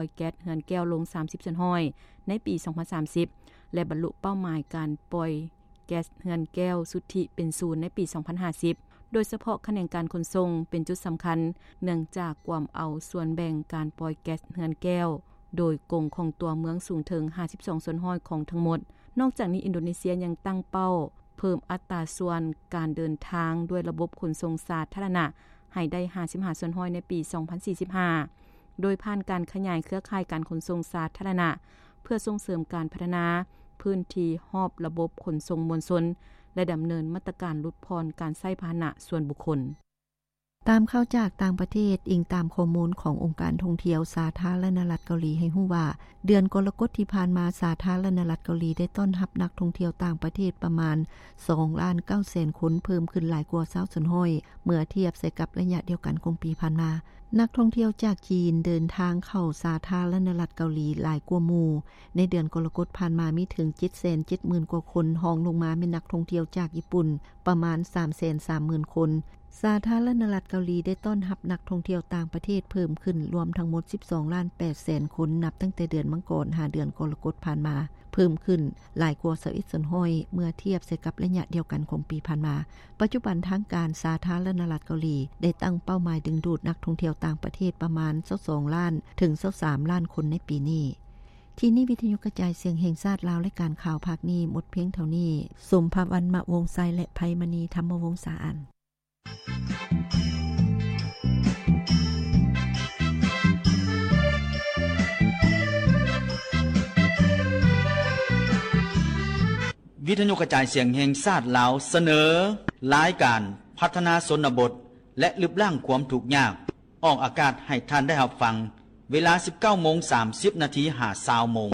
ອຍແກັສເຮືອນແກ້ວລົງສາມສິບສ່ວນຮ້ອຍໃນປີສອງພັນສາມສິບ ແລະ ບັນລຸເປົ້າໝາຍການປ່ອຍແກັສເຮືອນແກ້ວສຸດທິເປັນສູນໃນປີສອງພັນຫ້າສິບ ໂດຍສະເພາະຂະແໜງການຂົນສົ່ງເປັນຈຸດສຳຄັນ ເນື່ອງຈາກກວມເອົາສ່ວນແບ່ງການປ່ອຍແກັສເຮືອນແກ້ວໂດຍກົງຂອງຕົວເມືອງສູງເຖິງຫ້າສິບສອງສ່ວນຮ້ອຍຂອງທັງໝົດ. ນອກຈາກນີ້ ອິນໂດເນເຊຍຍັງຕັ້ງເປົ້າເພີ່ມອັດຕາສ່ວນການເດີນທາງດ້ວຍລະບົບຂົນສົ່ງສາທາລະນະໃຫ້ໄດ້ຫ້າສິບຫ້າສ່ວນຮ້ອຍໃນປີສອງພັນສີ່ສິບຫ້າ ໂດຍຜ່ານການຂະຫຍາຍເຄືອຂ່າຍການຂົນສົ່ງສາທາລະນະ ເພື່ອສົ່ງເສີມການພັດທະນາພື້ນທີ່ຮອບລະບົບຂົນສົ່ງມວນຊົນ ແລະ ດຳເນີນມາດຕະການຫຼຸດຜ່ອນການໃຊ້ພາຫະນະສ່ວນບຸກຄົນ. ຕາມຂ່າວຈາກຕ່າງປະເທດ, ອີງຕາມຂໍ້ມູນຂອງອົງການທ່ອງທ່ຽວສາທາລະນະລັດເກົາຫຼີໃຫ້ຮູ້ວ່າ, ເດືອນກໍລະກົດທີ່ຜ່ານມາ, ສາທາລະນະລັດເກົາຫຼີໄດ້ຕ້ອນຮັບນັກທ່ອງທ່ຽວຕ່າງປະເທດປະມານສອງລ້ານເກົ້າແສນຄົນ, ເພີ່ມຂຶ້ນຫຼາຍກວ່າຊາວສ່ວນຮ້ອຍ ເມື່ອທຽບໃສ່ກັບໄລຍະດຽວກັນຂອງປີຜ່ານມາ. ນັກທ່ອງທ່ຽວຈາກຈີນເດີນທາງເຂົ້າສາທາລະນະລັດເກົາຫຼີຫຼາຍກວ່າໝູ່. ໃນເດືອນກໍລະກົດຜ່ານມາມີເຖິງເຈັດແສນເຈັດໝື່ນກວ່າຄົນ, ຮອງລົງມາແມ່ນນັກທ່ອງທ່ຽວຈາກຍີ່ປຸ່ນປະມານສາມແສນສາມໝື່ນຄົນ. ສາທາລະນະລັດເກົາຫຼີໄດ້ຕ້ອນຮັບນັກທ່ອງທ່ຽວຕ່າງປະເທດເພີ່ມຂຶ້ນລວມທັງໝົດສິບສອງລ້ານແປດແສນຄົນ ນັບຕັ້ງແຕ່ເດືອນມັງກອນຫາເດືອນກໍລະກົດຜ່ານມາ, ເພີ່ມຂຶ້ນຫຼາຍກວ່າຊາວເອັດສ່ວນຮ້ອຍ ເມື່ອທຽບໃສ່ກັບໄລຍະດຽວກັນຂອງປີຜ່ານມາ. ປັດຈຸບັນທາງການສາທາລະນະລັດເກົາຫຼີໄດ້ຕັ້ງເປົ້າໝາຍດຶງດູດນັກທ່ອງທ່ຽວຕ່າງປະເທດປະມານຊາວສອງລ້ານເຖິງຊາວສາມລ້ານຄົນໃນປີນີ້. ທີ່ນີ້ວິທະຍຸກະຈາຍສຽງແຫ່ງຊາດລາວ ລາຍການຂ່າວພາກນີ້ໝົດພຽງເທົ່ານີ້. ສົມພະວັນ ມະວົງໄຊ ແລະ ໄພມະນີ ທຳມະວົງສາອານ. ວິທະຍຸກະຈາຍສຽງແຫ່ງຊາດລາວ ສະເໜີລາຍການພັດທະນາຊົນນະບົດ ແລະ ລຶບລ້າງຄວາມທຸກຍາກ ອອກອາກາດໃຫ້ທ່ານໄດ້ຮັບຟັງ ເວລາສິບເກົ້າໂມງສາມສິບນາທີ ຫາຊາວໂມງ.